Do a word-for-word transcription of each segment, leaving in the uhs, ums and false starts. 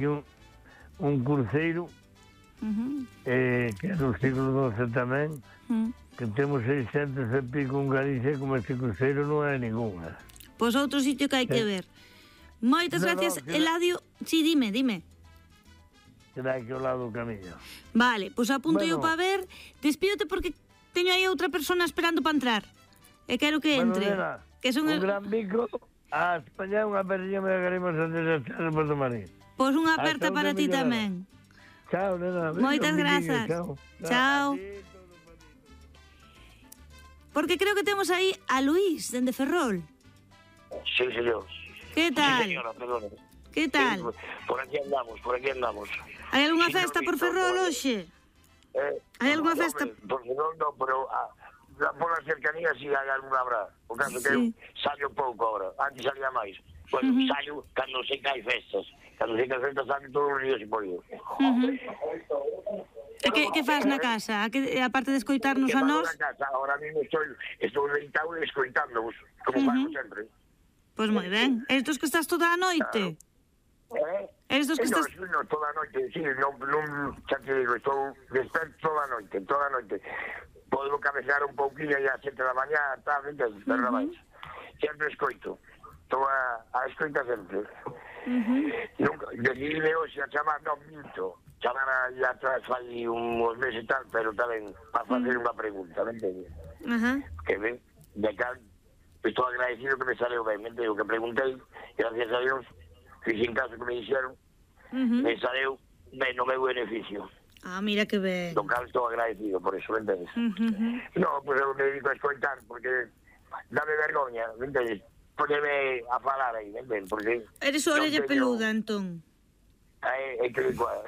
un, un cruceiro Uh-huh. eh, que é do siglo doce tamén, Uh-huh. que temos seiscentos e pico en Galicia, como este cruceiro non é ninguna. Pois outro sitio que hai que ver. Moitas No, no, gracias, que- Eladio. Sí, dime, dime. Será que ao lado do camiño. Vale, pois apunto eu Bueno. para ver. Despídote porque teño aí outra persona esperando para entrar. E quero que Bueno, entre. nena, Que son un el... gran bico, a España unha perdiña me agarrimos antes de estar en Porto Marín. Pois unha Hasta aperta outra para ti mellorada. tamén. Chao, nena. Moitas Un biquiño, grazas. Chao. Chao. A ti, todo para ti. Porque creo que temos aí a Luís, dende Ferrol. Sí, señor. Que tal? Sí, señora, perdone. Que tal? Sí, por aquí andamos, por aquí andamos. Hai algunha Sí, festa no, por no, Ferrol no, hoxe? Eh, Hai algunha no, festa? hombre, Por Ferrol no, pero ah, la- por la cercanía sí hai alguna habrá. O caso que Sí. eu salio pouco ahora, antes salía máis. Bueno, Ujú. salio cando sei que hai festas. Cando sei que hai festas salio todos os días e por ido. Uh-huh. E que, que faz na casa? A que, aparte de escoitarnos Que a fago nós? na casa, ahora mismo estou, estou deitado e escoitándovos, como Ujú. fago sempre. Pois moi ben. Eres tos que estás toda a noite? Eh? Eres dos que Eh, no, estás... no, toda a noite, sí, non, non, xa te digo, estou desperto toda a noite, toda a noite. Podo cabecear un pouquinho e a sete da mañá, tal, entendes, pero Ujú. uh -huh. Sempre escoito, estou a, a escoita sempre. Uh-huh. Nunca, decidime hoxe a chamar, non minto, chamar aí atrás fai uns meses e tal, pero tamén para facer unha pregunta, me entendes? Ajá. Que ven, de cal, estou agradecido que me saleu ben, me entendes, que preguntei, gracias a Dios, fixen caso que me dixeron, Uh-huh. me saleu ben no meu beneficio. Ah, mira que ben. Do cal estou agradecido por eso, me entendes? Uh-huh. No, pues eu me dedico a escoitar, porque dame vergoña, me entendes? Poneme a falar aí, me entendes? Porque Eres non orella teño- peluda, entón. É, é que igual.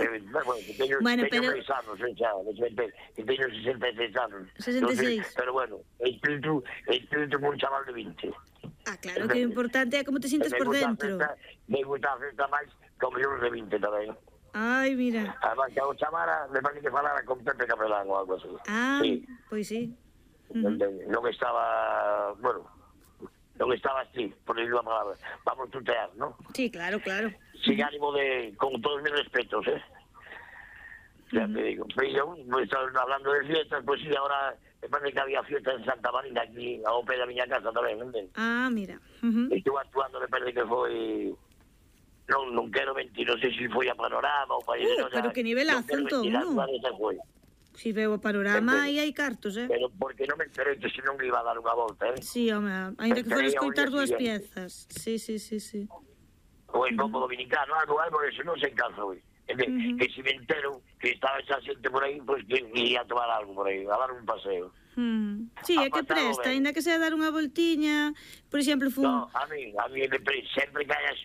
Eh, bueno, que teño, Bueno, teño pero- seis anos, eh, xa, de sesenta, que teño sesenta e seis anos. sesenta e seis. Entonces, pero bueno, espírito, espírito como un chaval de vinte. Ah, claro, que o importante é como te sintes me por gusta a dentro. festa, me gusta a festa máis como eu de vinte tamén. Ai, mira. Además, que a o chamara, me parece que falara con Pepe Capelán ou algo así. Ah, Sí. pois sí. Non, non estaba, bueno, non estaba así, por decir unha palabra. Vamos tutear, ¿no? Sí, claro, claro. Sin ánimo de, con todos mis respetos, ¿eh? Ya te digo. Pero yo, pues, estaba hablando de fiestas, pues sí, ahora me parece que había fiesta en Santa Marina, aquí, a Ope da miña casa tamén, ¿me entiendes? Ah, mira. Uh-huh. Estuve actuando, me parece que foi... Non, non quero mentir, non sei se foi a Panorama ou para... Uh, pero que nivelazo, entón, non? Foi. Si veo o panorama e hai cartos, eh? Pero porque non me enterei que se non iba a dar unha volta, eh? Sí, home, ainda que fores Enterei ao escoitar día dúas siguiente. piezas. Sí, sí, sí, sí. O en Bombo Dominicano, algo, algo, eso non se encanza hoy. Ujú. Que si me entero que estaba esa xente por aí, pues que iría a tomar algo por aí, a dar un paseo. Hmm. Sí, Ha é que pasado presta, ben. ainda que sea dar unha voltiña. Por exemplo, fun... No, a mí, a mí me presta, sempre que hayas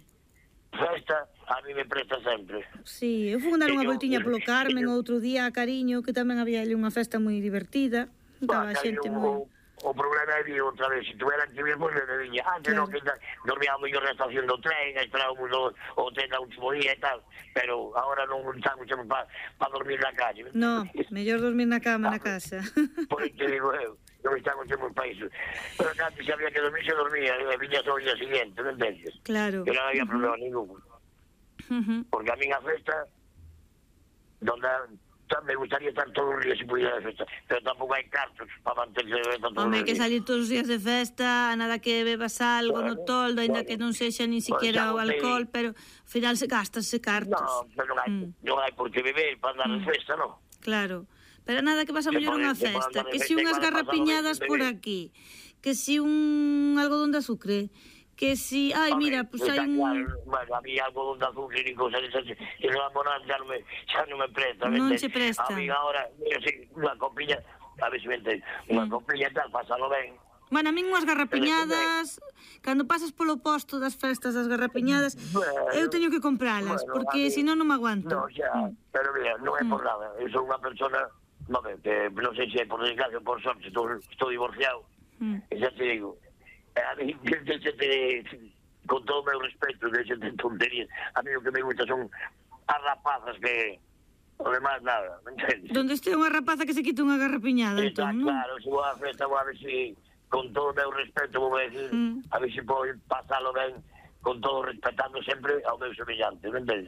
festa, a mí me presta sempre. Sí, eu fun dar unha Que yo- voltiña polo que Carmen yo- outro día a Cariño, que tamén había ali unha festa moi divertida. Estaba a Bah, xente o, moi... o problema é vir outra vez, se tuveran que vir, pues me viña. Antes Claro. non, que dormíamos yo na estación do tren, esperábamos o, o tren da último día e tal, pero agora non estamos para pa dormir na calle. No, mellor dormir na cama na casa. Por eso te digo eu, non estamos en un país. Pero que antes había que dormir, se dormía, e viña só o día siguiente, non entendes? Claro. Que non había problema ningún. Ujú. Porque a min a festa, donde me gustaría estar todos os días se pudiera de festa, pero tampouco hai cartos para manterse de festa todos Home, os que días. salir todos os días de festa, nada que bebas algo no Bueno, toldo, ainda bueno. que non sexa nin siquiera o Bueno, xa botei. alcohol, pero ao final se gastase cartos. No, pero non hai, Mm. non hai por que beber para andar de festa, non? Claro, pero nada que vas a Se mellor pode- unha se pode festa, andar de que festa si igual unhas a pasalo garrapiñadas ben, por bebé. aquí, que si un algodón de azúcar, que si, ai, Home, mira, pues está hai un claro, bueno, a mí algodón de azúcar y cosas esas, y no la ya no me, ya no me presta. ¿me Non entiendes? se presta. A mí ahora, yo sí, unha copiña, a ver se me entiendes, unha Mm. copiña e tal, pásalo ben. Bueno, a min unhas garrapiñadas, cando pasas polo posto das festas das garrapiñadas, Bueno, eu teño que compralas, bueno, porque a mí- senón non me aguanto. No, xa, pero mira, non é por nada, eu sou unha persona, no, que non sei se é por desgracia ou por sorte, estou, estou divorciado, Mm. e xa te digo, eh, a mí, deixate, con todo o meu respeto, deixate tonterías, a mí o que me gusta son as rapazas que, o demás nada, me entendes? Donde este unha rapaza que se quita unha garrapiñada, Está entón, non? claro, se vou á festa, vou a ver si, con todo o meu respeto, vou a decir, Mm. a ver se podo pasalo ben, con todo respetando sempre ao meu semellante, me entendes?